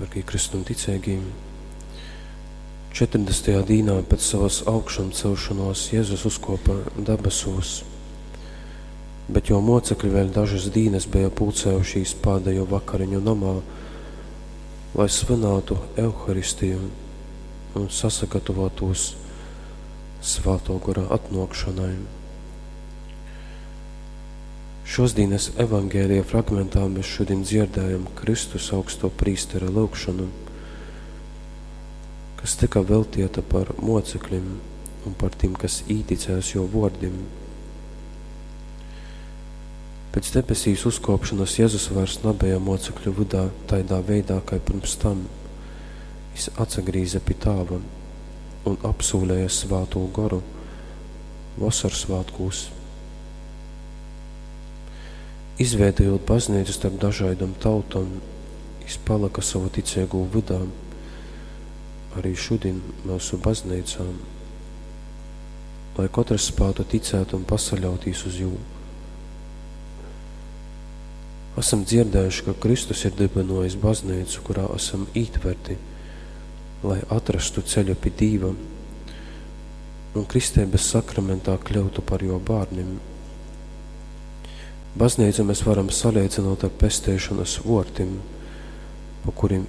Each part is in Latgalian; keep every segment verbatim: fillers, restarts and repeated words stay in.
Dārgie Kristum ticeigī, četrdesmitajā dīnā pēc savas augšamcelšanos Jēzus uzkopa debesūs, bet jo mocekļi vēl dažas dīnas bija pulcējušīs pādējo vakariņu namā, lai svinētu Euharistiju un sasagatavotos Svāto Gora atnākšanai. Šosdienas evangēlija fragmentā mēs šodien dzirdējam Kristus augsto prīstera lūgšanu, kas tika veltieta par mocekļiem un par tiem, kas īticēs jo vordim. Pēc debesīs uzkopšanas Jēzus vairs nebija mocekļu vidā taidā veidā, kā pirms tam. Jis atsagrīza pie tāva un apsūlēja Svāto Goru vasarsvētkūs. Izveidojot baznīcu starp dažādām tautām, jis palika savu ticīgo vidā, arī šodien mūsu baznīcā, lai katrs spētu ticēt un pasaļautīs uz jū. Esam dzirdējuši, ka Kristus ir dibinojis baznīcu, kurā esam ītverti, lai atrastu ceļu pie Dīva un kristības sakramentā kļautu par jo bērniem. Baznīcu mēs varam salīdzinot ar pesteišanas vortim, pa kuriem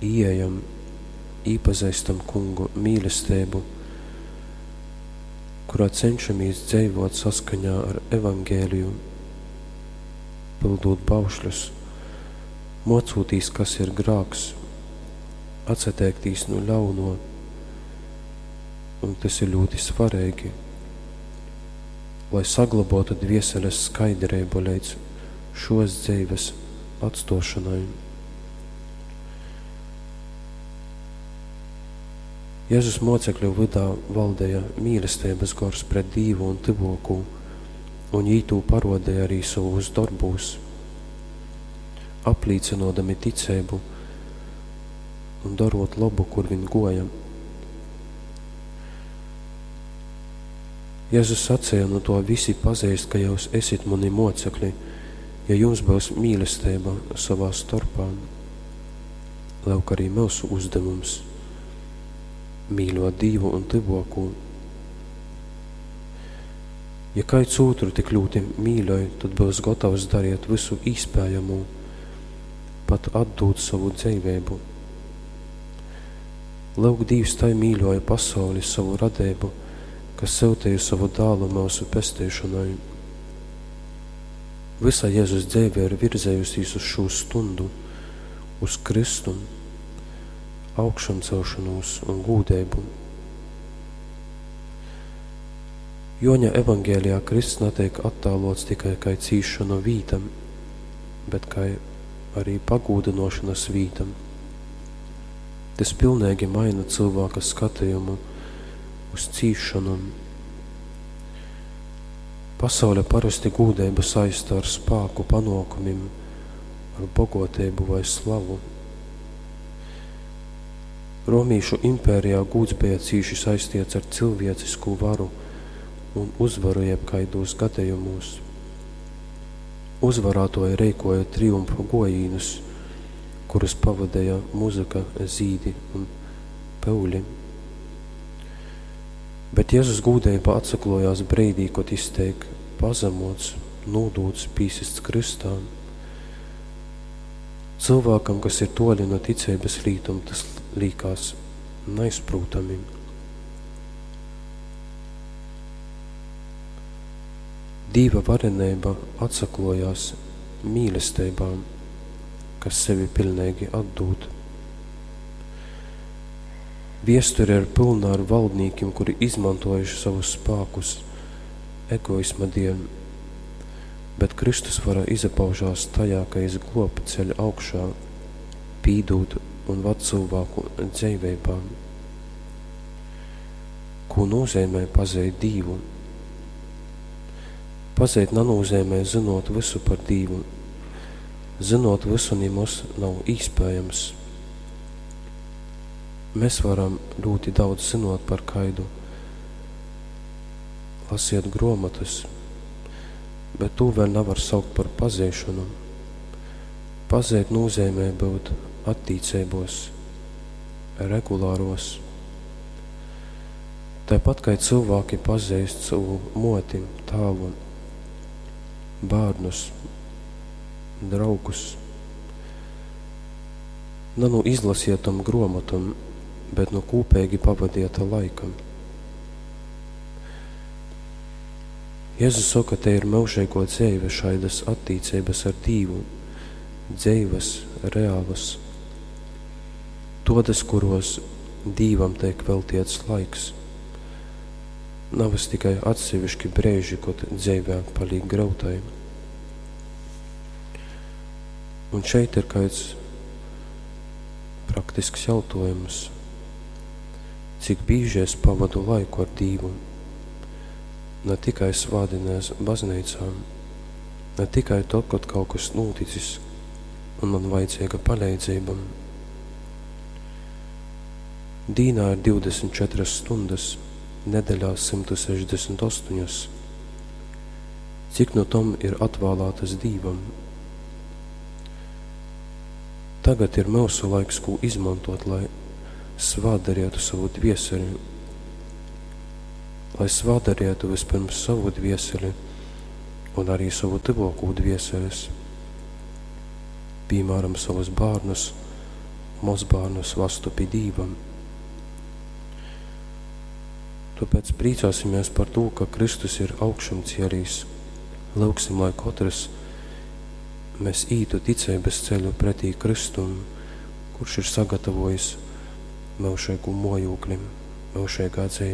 ieejam, īpazīstam kungu mīlestību, kurā cenšamies dzīvot saskaņā ar evangēliju, pildot baušļus, mocūtīs, kas ir grāks, atsateiktīs no ļauno, un tas ir ļoti svarīgi, lai saglabotu dvieseles skaidrību līdz šos dzīves atstošanai. Jēzus mocekļu vidā valdēja mīlestības gors pret Dīvu un tyvokū, un jī tū parodēja arī savos darbūs, aplīcinodami ticību un darot labu, kur viņi goja. Jēzus sacīja, no to visi pazīst, ka jūs esit mani mocekļi, ja jums būs mīlestība savā starpā. Lūk arī mūsu uzdevums – mīļot Dievu un tyvokū. Ja kāds otru tik ļoti mīļoj, tad būs gatavs darīt visu iespējamo, pat atdot savu dzīvību. Lūk, Dievs tai mīļoja pasauli savu radību, kas sūtīja savu dālu mūsu pestīšanai. Visa Jēzus dzīve ir virzējusies uz šo stundu, uz Kristu, augšancelšanos un gūdību. Joņa evangēlijā Kristus netiek attēlots tikai kā cīšanu vītam, bet kā arī pagūdinošanas vītam. Tas pilnīgi maina cilvēka skatījumu uz cīšanu. Pasaule parasti gūdību saista ar spāku, panākumiem, ar bogotību vai slavu. Romīšu impērijā gūds bija cīši saistīts ar cilvēcisku varu un uzvaru jebkaidos gadījumos. Uzvarātoji reikoja triumfa gojīnus, kurus pavadīja muzika, zīdi un peuļi. Bet Jēzus gūdība atsaklojās breidī, kad izteik pazemots, nūdūts, pīsists kristā. Cilvēkam, kas ir toļi no ticības lītuma, tas līkās neizprūtami. Dīva varenība atsaklojās mīlestībā, kas sevi pilnīgi atdūt. Viesture ir pilna ar valdniekiem, kuri izmantojuši savus spēkus egoisma dēļ, bet Kristus vara izapaužās tajā, ka jis glob ceļ augšā, pīdūt un vad cilvēku dzīvībā. Ko nozīmē pazīt Dievu? Pazīt nenozīmē zinot visu par Dievu. Zinot visu nemaz nav iespējams. Mēs varam ļoti daudz zinot par kaidu, lasiet grāmatas, bet to vēl nevar saukt par pazīšanu. Pazeit nūzeimē byut attīceibos, regulāros. Tāpat kai cilvēki pazeist savu moti, tāvu, bērnus, draugus. Na nu izlasietom gruomotom, bet nu kūpeigi pavadieta laika. Jēzus soka, te ir myužīgo dzeive šaidas attīcības ar Dīvu, dzeivas, reālas, todas, kuros Dīvam tiek veltiets laiks. Navas tikai atsevišķi brēži, kod dzeivē palīk grautai. Un šeit ir kāds praktisks jautājums. Cik bieži es pavadu laiku ar Dīvu? Ne tikai svādinēs baznīcā, ne tikai tad, kad kaut kas noticis un man vajadzīga palīdzība. Dīnā ir divdesmit četras stundas, nedēļā simtu sešdesmit astoņas. Cik no tom ir atvēlētas Dīvam? Tagad ir mūsu laiks, ko izmantot, lai svādarietu savu dvieseli, lai svādarietu vispirms savu dvieseli un arī savu tuvāko dvieseles, piemēram, savus bērnus, mazbērnus vastu pie Dīvam. Tāpēc priecāsimies par to, ka Kristus ir augšumcielīs. Lūgsim, lai katrs mēs ītu ticības ceļu pretī Kristum, kurš ir sagatavojis mūžīgu mojūkli, mūžīgā dzīve.